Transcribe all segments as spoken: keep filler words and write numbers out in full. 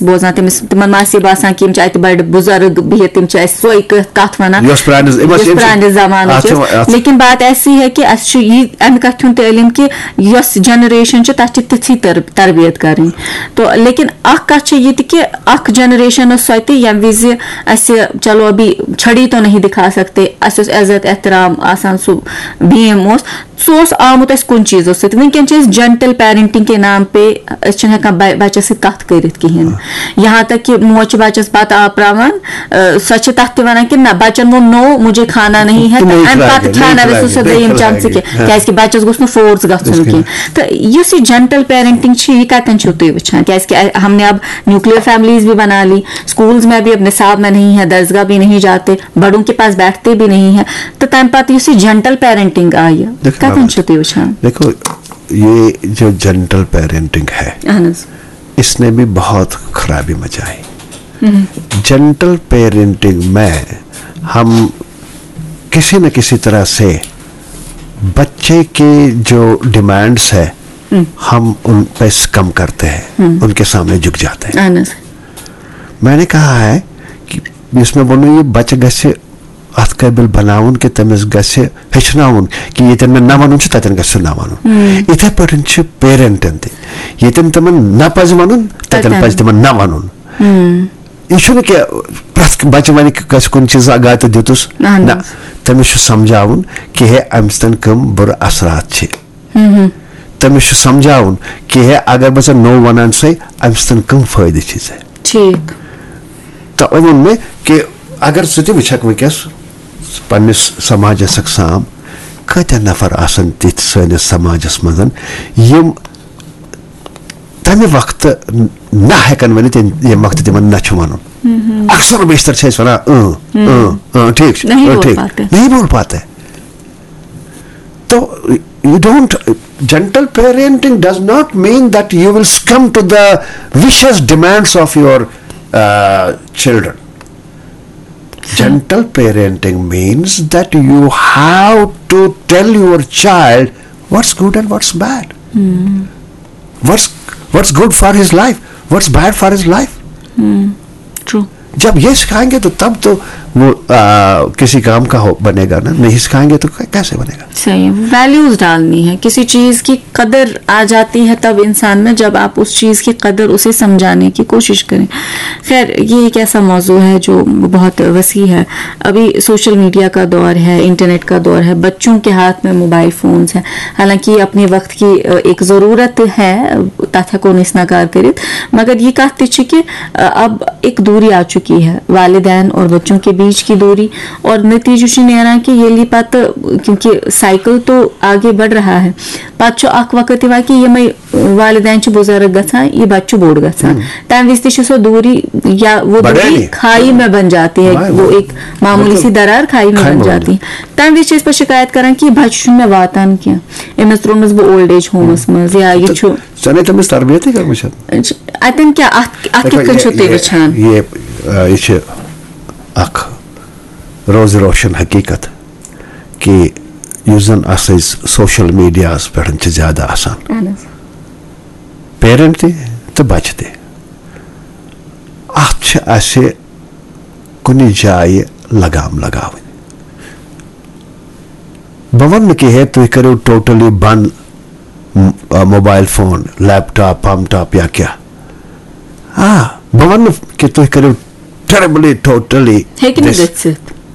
بوزان، تٔمِس، تِمن ما آسہِ باسان کہِ یِم چھِ اَتہِ بَڑٕ بُزرگ بِہِتھ، تِم چھِ اَسہِ سۄے کَتھ وَنان، یۄس پرٛانہِ، یِم ٲسۍ، یۄس یِم چھِ، پرٛانہِ زمانٕچ اَتھ چھِ ٲس۔ وَ-، اَتھ لیکن بات ایسی ہے کہ اَسہِ چھُ یہِ اَمہِ کَتھِ ہُنٛد تہِ علم کہِ یۄس جنریشن چھِ، تَتھ چھِ تِژھٕے تر-، تربیت کَرٕنۍ۔ تو لیکن اَکھ کَتھ چھِ یہِ تہِ کہِ اَکھ جنریشن ٲس سۄ تہِ، ییٚمہِ وِزِ اَسہِ، چلو، ابھی چھڑی تو نہیں دکھا سکتے، اَسہِ اوس عزت احترام آسان، سُہ بھیم اوس، سُہ اوس آمُت اَسہِ کُنہِ چیٖزو سۭتۍ۔ وٕنکیٚن چھِ أسۍ gentle parenting کے نام پہ، أسۍ چھِنہٕ ہٮ۪کان بَ-، بَچَس سۭتۍ کَتھ کٔرِتھ کِہیٖنۍ۔ یہاں تک کہ موج چھِ بَچَس بَتہٕ آپراوان، اَ، سۄ چھِ تَتھ تہِ وَنان کہِ نہ، بَچَن ووٚن "no، مجھے کھانا نہیں ہے"، تہٕ نہیں اَمہِ کھلائیں پَتہٕ گے، کھیٛاوناوٮ۪س نہیں سُہ کھلائیں گے، دوٚیِم نہیں چَمچہٕ کھلائیں کینٛہہ، گے۔ کیٛازِکہِ بَچَس گوٚژھ نہٕ force گژھُن کینٛہہ۔ تہٕ یُس یہِ gentle parenting چھِ، یہِ کَتٮ۪ن چھِو تُہۍ وٕچھان؟ کیٛازِکہِ اَ-، ہم نے اب nuclear families بھی بنا لی، schools میں بھی اب نصاب میں نہیں ہے، درسگاہ بھی نہیں جاتے، بڑوں کے پاس بیٹھتے بھی نہیں ہیں۔ تہٕ تَمہِ پَتہٕ یُس یہِ gentle parenting آیہِ، دیکھو کَتٮ۪ن حالت۔ چھِو تُہۍ وٕچھان؟ دیکھو، یہ جو جنٹل پیرنٹنگ ہے، اہن حظ۔ اس نے بھی بہت خرابی مچائی۔ جنٹل پیرنٹنگ میں ہم کسی نہ کسی طرح سے بچے کے جو ڈیمانڈس ہے، ہم ان پہ کم کرتے ہیں، ان کے سامنے جھک جاتے ہیں۔ اہن حظ۔ میں نے کہا ہے کہ یُس مےٚ ووٚنُو، یہِ بَچہٕ گژھِ اَتھ قٲبِل بَناوُن کہِ تٔمِس گژھِ ہیٚچھناوُن کہِ ییٚتٮ۪ن مےٚ نہ وَنُن چھُ، تَتٮ۪ن گژھِ سُہ نہ وَنُن۔ یِتھَے پٲٹھۍ چھِ پیرَنٹَن تہِ، ییٚتٮ۪ن تِمَن نہ پَزِ وَنُن، تَتٮ۪ن تَتٮ۪ن۔ پَزِ تِمَن نہ وَنُن۔ یہِ چھُنہٕ کہِ پرٛٮ۪تھ بَچہٕ وَنہِ کہِ کٲنٛسہِ کُنہِ چیٖزَس اگاے تہٕ دیُتُس۔ اہن نہ، حظ۔ تٔمِس چھُ سَمجھاوُن کہِ ہے، اَمہِ سۭتۍ کٕم بُرٕ اَثرات چھِ۔ تٔمِس چھُ سَمجھاوُن کہِ ہے، اگر بہٕ ژےٚ نو وَنان چھُسَے، اَمہِ سۭتۍ کٕم فٲیدٕ چھِ ژےٚ۔ ٹھیٖک۔ تہٕ وۄنۍ ووٚن مےٚ کہِ اگر ژٕ تہِ وٕچھکھ وٕنکیٚس پننِس سماجس اکھ سام، کۭتیاہ نفر آسن تِتھۍ سٲنِس سماجس منٛز یِم تمہِ وقتہٕ نہ ہٮ۪کن ؤنِتھ، ییٚمہِ، ییٚمہِ وقتہٕ تِمن نہ چھُ ونُن۔ اکثر و بیشتر چھِ أسۍ ونان، اۭں، اۭں، اۭں، ٹھیٖک چھُ، نہیں اۭں، بول ٹھیٖک۔ پاتے۔ نہیں بول پاتے۔ تو you don't, gentle parenting does not mean that you will succumb to the vicious demands of your uh, children. Gentle parenting means that you have to tell your child what's good and what's bad. What's, what's good for his life, what's bad for his life. True. जब ये सिखाएंगे तो तब तो वो आ, किसी काम का हो, बनेगा ना, नहीं सिखाएंगे तो कै-, कैसे बनेगा? صحیح، ویلیوز ڈالنی ہے۔ کسی چیز کی قدر آ جاتی ہے تب انسان میں، جب آپ اس چیز کی قدر اسے سمجھانے کی کوشش کریں۔ خیر، یہ ایک ایسا موضوع ہے جو بہت وسیع ہے۔ ابھی سوشل میڈیا کا دور ہے، انٹرنیٹ کا دور ہے، بچوں کے ہاتھ میں موبائل فونز ہیں۔ حالانکہ یہ اپنے وقت کی، اَ، ایک ضرورت ہے، تَتھ ہٮ۪کو نہٕ أسۍ نکار کٔرِتھ، مگر یہِ کَتھ تہِ چھِ کہِ، اَ، اب ایک دوری آ چکی ہے، والدین اور بچوں کے بیچ کی دوری، اور نتیجہ چھُ نیران کہِ ییٚلہِ پَتہٕ، کیونکہ سائیکل تو آگے بڑھ رہا ہے، پَتہٕ چھُ اکھ وقت یِوان کہِ یِمے والدین چھِ بُزرگ گژھان، یہِ بچہٕ چھُ بوٚڑ گژھان۔ تَمہِ وِزِ تہِ چھِ سۄ دوٗری یا وہ بڑھے دوٗری نہیں۔ کھائی میں بن جاتی ہے، بڑھے وہ نہیں۔ ایک معمولی سی بالکل۔ درار کھائی میں کھائی بن میں بن جاتی ہے۔ تَمہِ وِزِ چھِ أسۍ پَتہٕ شِکایت کران کہِ یہِ بچہٕ چھُنہٕ مےٚ واتان کینٛہہ، أمِس ترٛوونَس بہٕ اولڈ ایج ہومَس منٛز یا یہِ چھُ۔ ژےٚ نے تٔمِس تربیتٕے کٔرمٕژ چھَنہٕ۔ اَتٮ۪ن کیٛاہ، اَتھ اَتھ کِتھ کٔنۍ چھِو تُہۍ یہ، وٕچھان؟ یہ، آ، یہ چھِ اکھ روز روشن حقیقت کہ یُس زن اسہِ سوشل میڈیاہس پٮ۪ٹھ چھِ زیادٕ آسان، اہن حظ۔ پیرنٹ تہِ تہٕ بچہٕ تہِ، اتھ چھِ اسہِ کُنہِ جایہِ لگام لگاوٕنۍ۔ بہٕ ونہٕ نہٕ کہِ ہے تُہۍ کٔرِو ٹوٹلی بند م-، آ، موبایل فون، لیپ ٹاپ، پم ٹاپ یا کیٛاہ۔ آ، بہٕ ونہٕ نہٕ کہِ تُہۍ کٔرِو ٹیربلی، ٹوٹلی ہیٚکہِ نہٕ گٔژھِتھ۔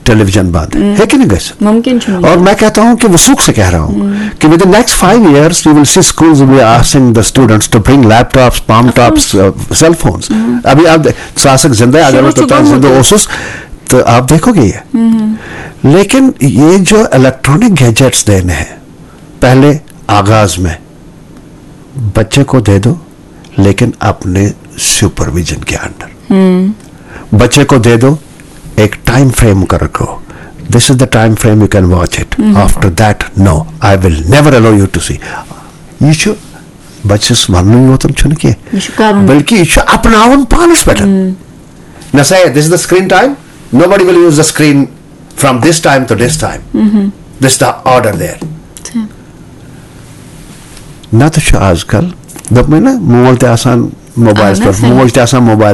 ٹیلی ویژن بند۔ ہیٚکہِ نہٕ گٔژھِتھ۔ مُمکِن چھُنہٕ۔ اور میں کہتا ہوں کہ وہ سوکھ سے کہہ رہا ہوں کہ within next five years you will see schools will be asking the students to bring laptops, palm tops, uh, cell phones. ابھی آپ دے-، سُہ آسکھ زندہ، اگر شروع میں چھُ توٚتام زندہ گوٚمُت۔ اوسُس تو آپ دیکھو گے یہ۔ لیکن یہ جو الیکٹرانک گیجٹس دینے ہیں، پہلے آغاز میں بچے کو دے دو، لیکن اپنے سپرویژن کے انڈر۔ بچے کو دے دو، ایک ٹائم فریم کر رکھو، this is the time frame you can watch it, after that no, I will never allow you to see. یہ چھُ بچس وننُے یوتن چھُنہٕ کینٛہہ، یہِ چھُ کرُن۔ بلکہ یہ چھُ اپناوُن پانس پٮ۪ٹھ۔ نہ سا، this is the screen time, nobody will use the screen from this time to this time. This is the order there. نتہٕ چھُ آز کل، دوٚپمَے نہ، مول تہِ آسان موبایلَس اہن حظ، پٮ۪ٹھ، صحیح۔ موج تہِ آسان موبایلَس